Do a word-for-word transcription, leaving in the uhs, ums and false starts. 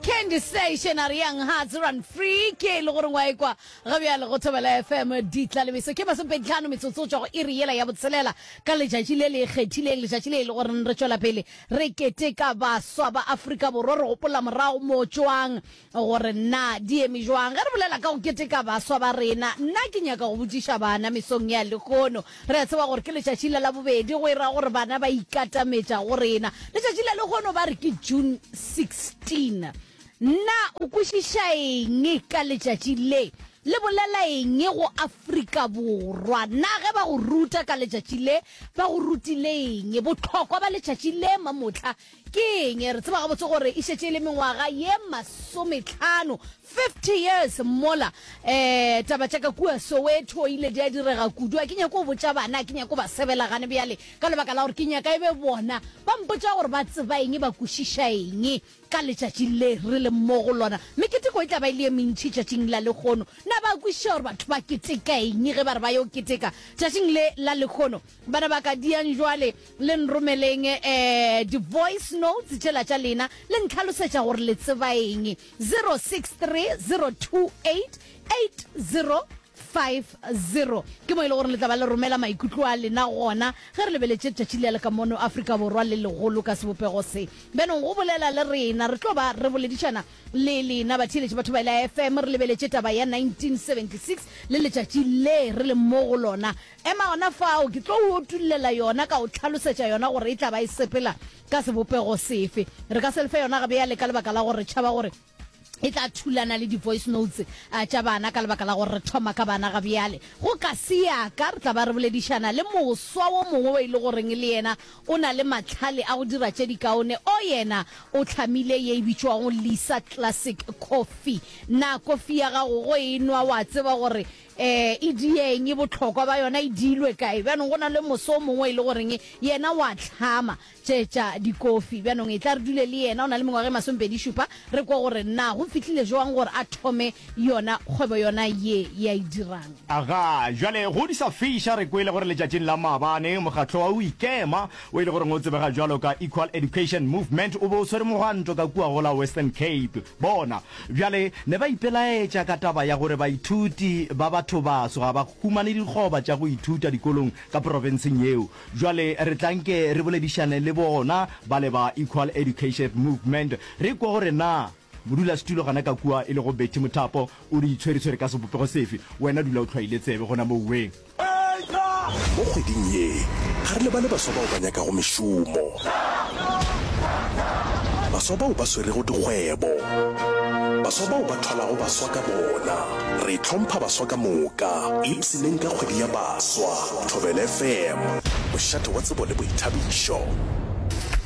Candy Station a re Young Hearts Run Free ke e le gore ngwa ekwa ga bjale go Thobela F M ditla le meso ke masomepedi-tlhano metsotso tšwa go iri yela ya botshelela ka letšatši le le ikgethileng, letšatši le e le gore re tšwela pele re keteka baswa ba Afrika Borwa, re gopola morago mo tšwang gore na di eme jwang. Ge re bolela ka go keteka baswa ba rena, nna ke nyaka go botšiša bana mesong ya lehono. Re a tseba gore ke letšatši la Labobedi, go e ra gore bana ba ikatametša go rena. Letšatši la lehono ba re ke June sixteen. Na o kwešiša eng ka letšatši le? Le bolela eng go Afrika Borwa? Na ge ba go ruta ka letšatši le, ba go rutile eng? Bohlokwa ba letšatši le mamohla ke eng? Re tseba gabotse gore e šetše e le mengwaga ye masometlhano, fifty years, mola um taba tša ka kua Soweto ile di a direga kudu. A ke nyake go botša bana, a ke nyake go ba sebela gane bjale ka lebaka la gore ke nyaka e be bona ba mpotša gore ba tseba eng, ba kwešiša eng ka letšatši le re leng mo go lona. Meketeko e tla ba e le ye mentši tšatšing la lehono. Na ba kwešiša gore batho ba keteka eng ge ba re ba yo keteka tšatšing le la lehono? Bana ba ka, diang jwale le nromeleng um di-voice notes tšela tša lena le ntlhalosetša gore le tseba eng. Zero six three zero two eight eight zero five zero ke mo e le gore le tla ba le romela maikutlo a lena gona ge re lebeletše letšatši le le ka mono Afrika Borwa le legolo ka sebopego se. Bjanong go bolela le rena, re tlo ba re boledišana le lena batheeletši batho ba la F M, re lebeletše taba ya nineteen seventy six le letšatši le re leng mo go lona. Ema gona fao, ke tlo o otullela yona ka o tlhalosetša yona gore e tla ba e sepela ka sebopego sefe. Re ka se le fe yona gabjale ka lebaka la gore re tšhaba gore e tla thulana le di-voice notes tša bana ka lebaka la gore re thoma ka bana ga bjale. Go ka se ya ka re tla ba re boledišana le moswa wo mongwe o e le goreng le yena o na le mahlale a go dira tše dikaone. O yena o hlamile ye e bitšwago Lisa Classic Coffee. Na kofi ya gago go e nwa wa tseba gore um e dieng, e bohlokwa ba yona e diilwe kae? Bjanong go na le moso o mongwe e le goreng yena wa hlama tše tša dikofi. Bjanong e tla re dule le yena, o na le mengwaga e masomepedi šupa, re kwa gore na go fihlile jwang gore a thome yona kgwebo yona ye ya e dirang. Aga, jwale go di sa fiša re kwele gore letšatšing la maabane mokgatlo wa o ikema o e le goreng o tsebega bjalo ka Equal Education Movement o be o swere mogwanto ka kua go la Western Cape. Bona bjale ne ba ipelaetša ka taba ya gore baithuti ba bathobaso ga ba humane dikgoba tša go ithuta dikolong ka profenseng yeo. Bjale re tla nke re boledišane le bona bale ba Equal Education Movement re kwe gore na modulasetulo gana ka kua e lego Betty Mothapo o di itshweretshwere ka sebopego sefe. Wena dula o hlwaile tsebe gona moweng. Mo kgweding ye, ga re lebale baswa bao ba nyakago mešomo, baswa bao ba swerego dikgwebo, baswa bao ba thwalago baswa ka bona. Re hlompha baswa ka moka. Ipshineng ka kgwedi ya baswa. Thobela F M, mošate wa tsebo le boithabišo.